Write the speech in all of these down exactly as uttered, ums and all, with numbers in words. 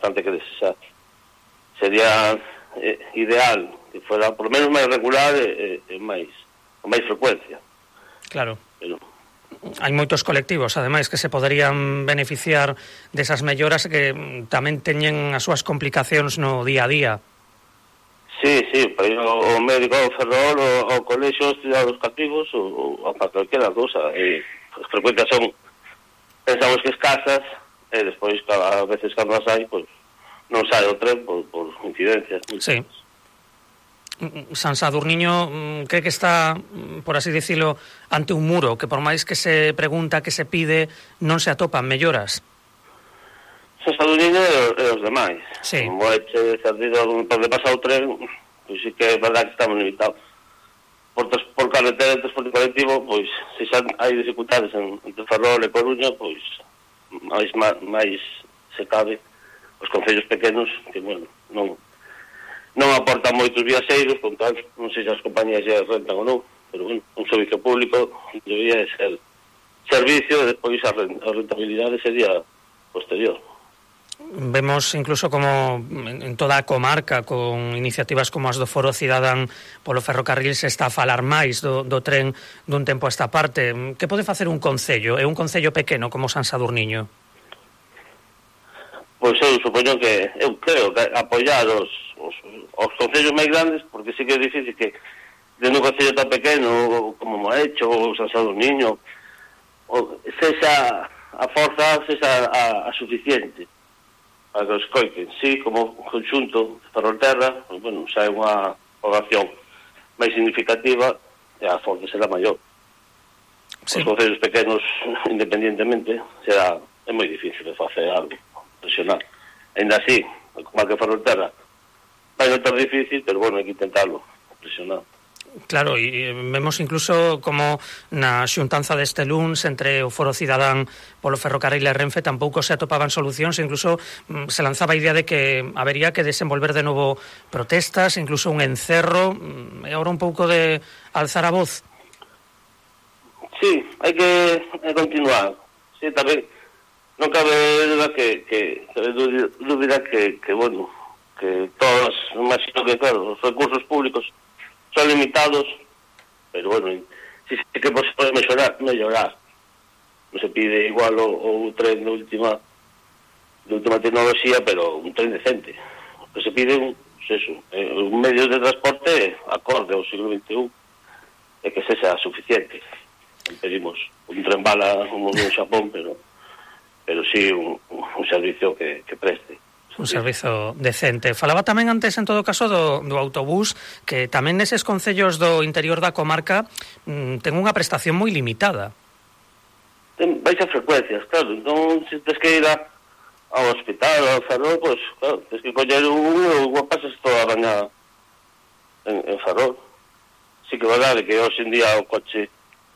bastante que desear. Sería eh, ideal que fuera por lo menos máis regular e, e máis con máis frecuencia. Claro. Pero hai moitos colectivos, ademais, que se poderían beneficiar desas melloras que tamén teñen as súas complicacións no día a día. Sí, sí, para ir ao, ao médico, ao Ferrol, ao, ao colexio, estudiar os cativos, ou, ou para calquera cousa. E as frecuencias son, pensamos que escasas, e despois, a veces, cando as hai, pois, non sai o tren por, por incidencias. Sí. San Sadurniño cree que está, por así dicilo, ante un muro, que por máis que se pregunta, que se pide, non se atopan melloras. San Sadurniño e os demais. Sí. Como é che cerdido onde pasa o tren, pois sí que é verdade que estamos limitados. Por, por carretera e transporte colectivo, pois, se xa hai dificultades en, entre Ferrol e Coruña, pois, máis, máis se cabe os concellos pequenos, que, bueno, non non aportan moitos viaxeiros, con tal, non sei se as compañías xa rentan ou non, pero, bueno, un servicio público debía ser servicio e despois a rentabilidade sería posterior. Vemos incluso como en toda a comarca, con iniciativas como as do Foro Cidadán polo ferrocarril, se está a falar máis do, do tren dun tempo a esta parte. Que pode facer un concello? É un concello pequeno como San Sadurniño? Pois eu supoño que, eu creo que apoiar os, os, os concellos máis grandes, porque sí que é difícil que dentro un concello tan pequeno como Moecho ou San Sadurniño, ou sexa a forza, sexa a, a suficiente para que os coiten. Sí, como conxunto de Ferrolterra, pues, bueno, xa é unha población máis significativa e a forza será maior. Sí. Os concellos pequenos, independientemente, será, é moi difícil de facer algo presionar. Ainda así, como que Ferrolterra vai non tan difícil, pero bueno, hai que intentarlo presionar. Claro, e vemos incluso como na xuntanza deste luns entre o Foro Cidadán polo ferrocarril e Renfe tampouco se atopaban solucións, incluso se lanzaba a idea de que habería que desenvolver de novo protestas, incluso un encerro, e agora un pouco de alzar a voz. Sí, hai que continuar. Sí, tamén non cabe dúbida que, que cabe dúbida que, que, bueno, que todos, imagino que, claro, os recursos públicos son limitados, pero, bueno, sí, sí que se pode mellorar, mellorar. Non se pide igual o, o tren de última, de última tecnoloxía, pero un tren decente. O que se pide un, pues eso, un medio de transporte acorde ao siglo veinti e un, e que sexa suficiente. Pedimos un tren bala como no Xapón, pero pero sí un, un servicio que, que preste. Un servizo decente. Falaba tamén antes, en todo caso, do, do autobús, que tamén neses concellos do interior da comarca mmm, ten unha prestación moi limitada. Ten baixas frecuencias, claro. Entón, se tens que ir a, ao hospital, ao Ferrol, pois, pues, claro, tens que coller un ou pasas toda a baña en, en Ferrol. Sí que é verdade que hoxe en día o coche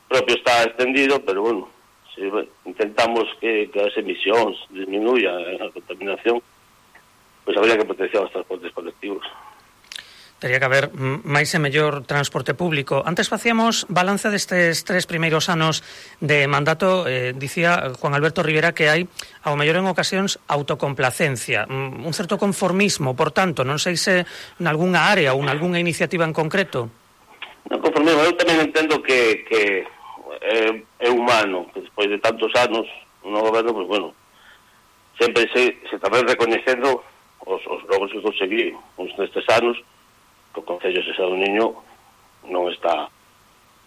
propio está extendido, pero, bueno, si intentamos que, que as emisións disminuya a contaminación, pois habría que potenciar os transportes colectivos. Tería que haber máis e mellor transporte público. Antes facíamos balance destes tres primeiros anos de mandato. Eh, dicía Juan Alberto Rivera que hai, ao mellor en ocasións, autocomplacencia, un certo conformismo, por tanto, non sei se en algunha área ou en algunha iniciativa en concreto. Non conformismo, eu tamén entendo que, que é, é humano, que despois de tantos anos no goberno, pues bueno, sempre se, se tamén recoñecendo os, os logros que conseguí uns nestes anos, que o Concello de Sadurniño non está,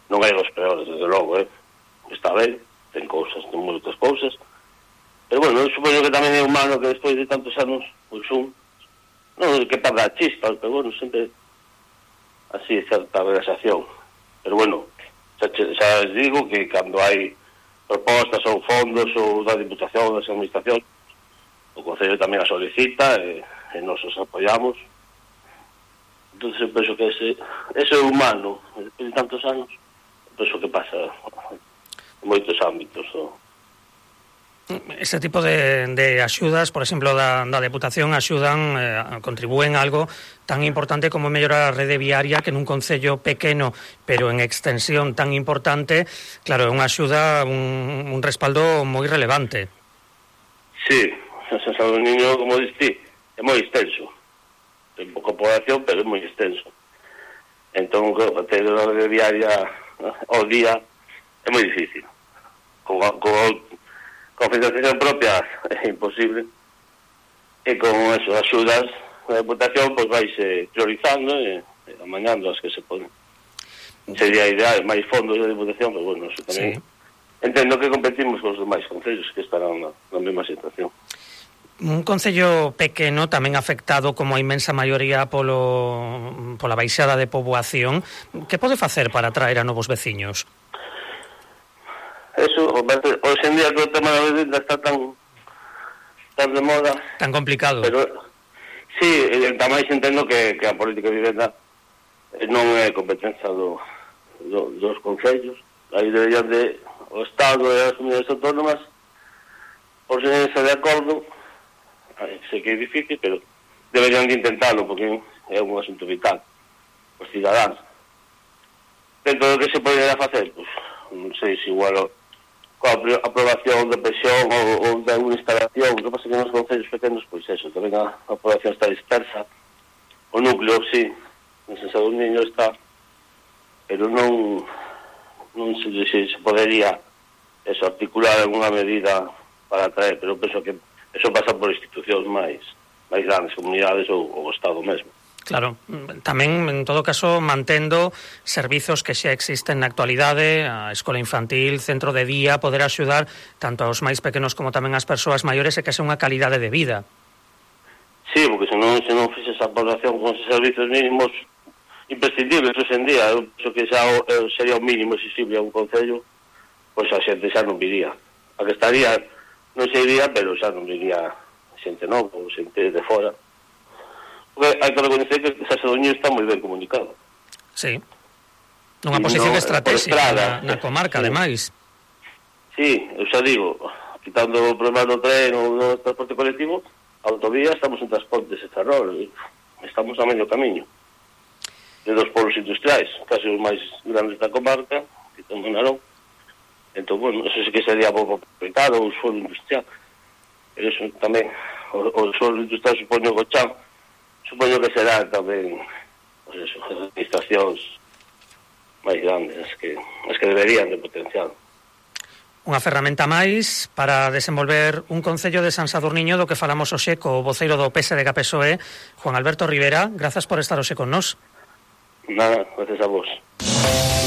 non é dos peores, desde logo, eh? Está ben, ten cousas, ten moitas cousas, pero bueno, eu supoño que tamén é humano que despois de tantos anos, pois un, non que perda a chispa, pero bueno, sempre así certa relaxación. Pero bueno, xa, xa les digo que cando hai propostas ou fondos ou da Diputación, das Administración, o Concello tamén a solicita e, e nos os apoiamos. Entón eu penso que ese, ese é humano, despois de tantos anos, penso que pasa en moitos ámbitos. ¿No? Ese tipo de, de axudas, por exemplo, da, da Deputación, axudan, eh, contribúen a algo tan importante como mellorar a rede viaria, que nun concello pequeno, pero en extensión tan importante, claro, é unha axuda, un, un respaldo moi relevante. Sí, San Sadurniño, como diste, é moi extenso. Ten pouca población, pero é moi extenso. Entón, ter a hora diaria ao día é moi difícil. Con, con, con financiación propia é imposible. E con eso, axudas a Deputación, pois vaise priorizando e, e amañando as que se poden. Sería ideal, máis fondos de Deputación, pero bueno, eso tamén... Sí. Entendo que competimos con os demais concellos que estarán na, na mesma situación. Un concello pequeno tamén afectado como a inmensa maioría polo, pola baixada de poboación, que pode facer para atraer a novos veciños? Eso, hoxe en día que o tema da vivenda está tan tan de moda, tan complicado, pero sí, tamén entendo que, que a política de vivenda non é competencia do, do, dos concellos. Aí deberían de o Estado e as comunidades autónomas por se de acordo. Ay, sei que é difícil, pero deberían de intentarlo, porque é un asunto vital os cidadáns. Dentro do que se podería facer, pues, non sei se igual o, coa aprobación de presión ou, ou de alguna instalación. O que pasa que nos concellos pequenos, pois eso, tamén a, a aprobación está dispersa. O núcleo, sí, en San Sadurniño está, pero non non sei se se podería eso, articular alguna medida para atraer, pero penso que eso pasa por institucións máis máis grandes, comunidades ou o Estado mesmo. Claro, tamén, en todo caso, mantendo servizos que xa existen na actualidade, a escola infantil, centro de día, poder axudar tanto aos máis pequenos como tamén ás persoas maiores e que sea unha calidade de vida. Sí, porque se non, se non fixe esa población con esos servizos mínimos imprescindibles hoxe en día, eu penso que xa o, sería o mínimo exigible a un concello, pois a xente xa non viría. A que estaría, non se iría, pero xa non viría xente nova ou xente de fora. Porque hai que reconocer que San Sadurniño está moi ben comunicado. Sí. Nunha posición no, estratégica na, na comarca, sí. Ademais. Sí, eu xa digo, quitando o problema do tren ou do transporte colectivo, a autovía estamos en Transportes e Ferrol, estamos a medio camiño de dos polos industriais, casi os máis grandes da comarca, que estamos en Narón. Entón, bueno, eso sí que sería pouco complicado, o suelo industrial. Pero eso tamén, o, o suelo industrial supoño o chan, supoño que será tamén, pues eso, as administracións máis grandes, as que, as que deberían de potenciar. Unha ferramenta máis para desenvolver un concello de San Sadurniño do que falamos hoxe co voceiro do P S D G P S O E, Juan Alberto Rivera. Grazas por estar hoxe con nós. Nada, gracias a vos.